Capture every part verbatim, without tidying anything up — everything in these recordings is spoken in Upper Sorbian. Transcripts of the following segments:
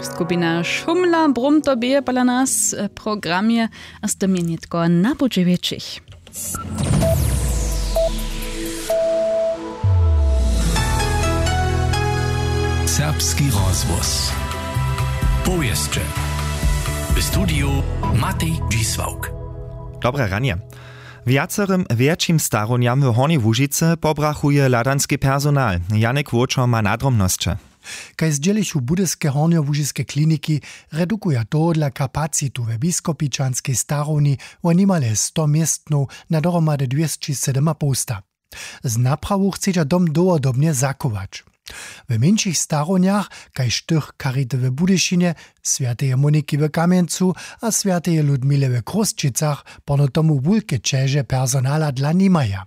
Skupina Šumla brumto bě pola nas w programje, a z tym je nětko na budźe wjetšich. Serbski rozhłos. Powěsće. W studiju Matej Dźisławk. Dobre ranje. Wjacerym wjetšim starownjam w Hornjej Łužicy pobrachuje hladanski personal. Janek Wóčor ma nadrobnosće. Kaž zdźělichu budyske hornjołužiske kliniki, redukuja tohodla kapacitu we biskopičanskej starowni wo nimale sto městnow na dohromady dwěsći sydomapołsta. Z naprawu chcedźa dom dołhodobnje zachować. W mjeńšich starownjach, kaž tych charity w Budyšinje, swjateje Moniki w Kamjencu a swjateje Ludmile w Chrósćicach, porno tomu wulke ćeže personala dla nimaja.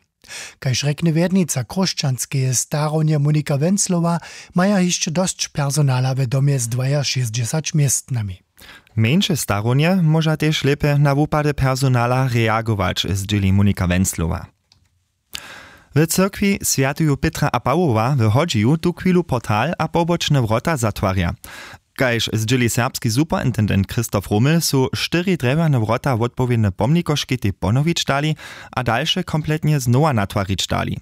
Kaž rjekny wjednica chróšćanskeje starownje Monika Wenclowa, maja hišće dosć personala w domje z dwajašěsćdźesać městnami. Mjeńše starownje móža tež lěpje na wupady personala reagować, zdźěli Monika Wenclowa. W cyrkwi swjateju Pětra a Pawoła w Hodźiju tuchwilu portal a pobočne wrota zatwarja. Kaž zdźěli serbski superintendent Christoph Rummel, su štyri drjewjane wrota wotpowědne pomnikoškej tej ponowić dali a dalše kompletnje znowa natwarić dali.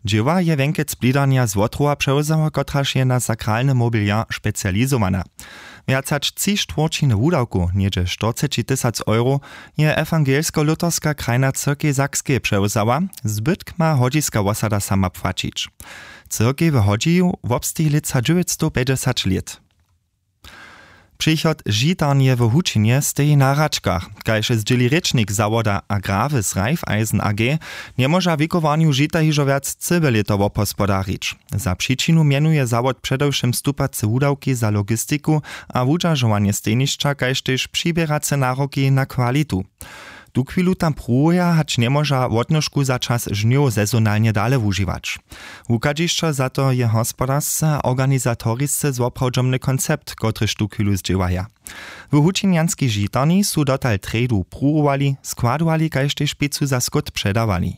Dźěła je wjenkec blidarnja z Wotrowa přewzała, kotraž je na sakralny mobiliar specializowana. Wjac hač tři štwórćiny wudawkow, něhdźe štyrceći tysac euro, je ewangelsko-luterska krajna cyrkej Sakskeje přewzała, zbytk ma hodźiska wosada sama płaćić. Cyrkej w Hodźiju wobsteji lětsa dźewjećstowpjećdźesać lět. Přichod žitarnje w Hučinje steji na hračkach. Kaž zdźěli rěčnik zawoda Agrarwys Raiffeisen A G, njemóža wikowarnju žita hižo wjac cyłe lěto wobhospodarić. Za přičinu mjenuje zawod předewšěm stupace wudawki za logistiku a wudźeržowanje stejnišća, kaž tež přiběrace naroki na kwalitu. Tuchwilu tam pruwuja, hač njemóža wotnožku za čas žnjow sezonalnje dale wužiwać. Wuchadźišćo za to je hospodarsce a organizatorisce zwoprawdźomny koncept, kotryž tuchwilu zdźěłaja. W hučinjanskej žitarni su dotal trjedu pruwowali, składowali kaž tež pěcu za skót předawali.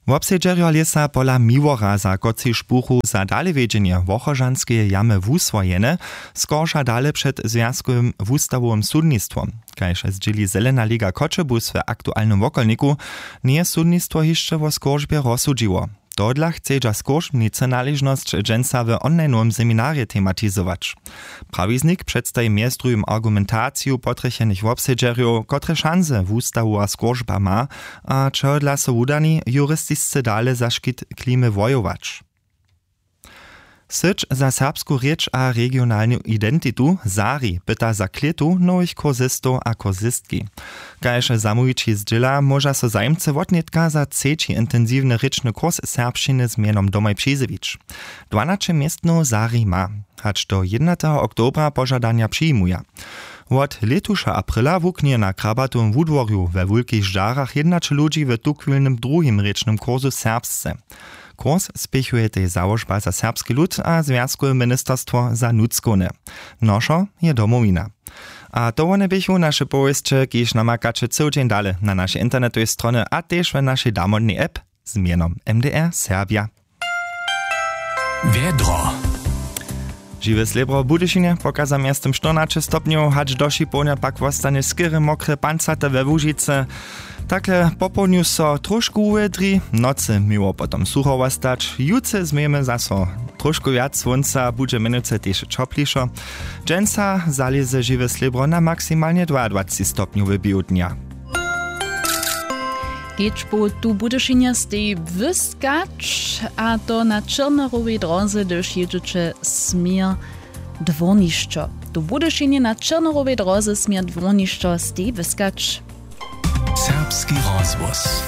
Wobsedźerjo lěsa pola Miłoraza, kotřiž buchu za dalewjedźenje Wochožanskeje jamy wuswojene, skorša dale před zwjazkowym wustawowym sudnistwom. Kaž zdźěli Zelena liga Choćebuz w aktualnym wokolniku, njeje sudnistwo hišće wo skóržbje rozsudźiło. Tohodla chcedźa skóržbnicy naležnosć dźensa w onlinowym seminarje tematizować. Prawiznik předstaji mjez druhim argumentaciju potrjechenych wobsedźerjow, kotre šanse wustawowa skóržba ma a čehodla so wudani juristisce dale za škit klimy wojować. Syć za serbsku rěč a regionalnu identitu Sari pyta za klětu nowych kursistow a kursistki. Kaž zamołwići zdźěla, móža so zajimcy wotnětka za třeći intensiwny rěčny kurs serbšćiny z mjenom domoj přizjewić. Dwanaće městnow Sari ma, hač do jědnateho oktobra požadanja přijimuja. Wot lětuša aprila wuknje na Krabatowym wudworju we Wulkich Žarach jědnaće ludźi w tuchwilnym druhim rěčnym kursu serbsce. Kurs spěchuje tež Załožba za serbski lud a Zwjazkowe ministerstwo za nutřkowne. Nošo je Domowina. A to wone běchu naše powěsće, kiž namakaće cyły dźeń dale na našej internetowej stronje a tež w našej damodnej app z mjenom M D R Serbja. Wjedro. Žiwe slěbro w Budyšinje pokaza mjeztym štyrnaće stopnjow, hač do Šipownja pak wostanje skerje mokre, pancate we Łužicy. Takle popołdnju so tróšku wuwjedri, w nocy měło potom sucho wostać. Jutře změjemy zaso tróšku wjac słónca, budźe mjenujcy tež ćoplišo. Dźensa zalěze žiwe slěbro na maksimalnje dwajadwaceći stopnjow w běhu dnja. Kedźbow tu w Budyšinje steji wyskać, a to na Črnerowej dróze, hdyž jědźeće směr dwórnišćo. Tu w Budyšinje na Črnerowej dróze směr dwórnišćo steji wyskać. Serbski rozhłos.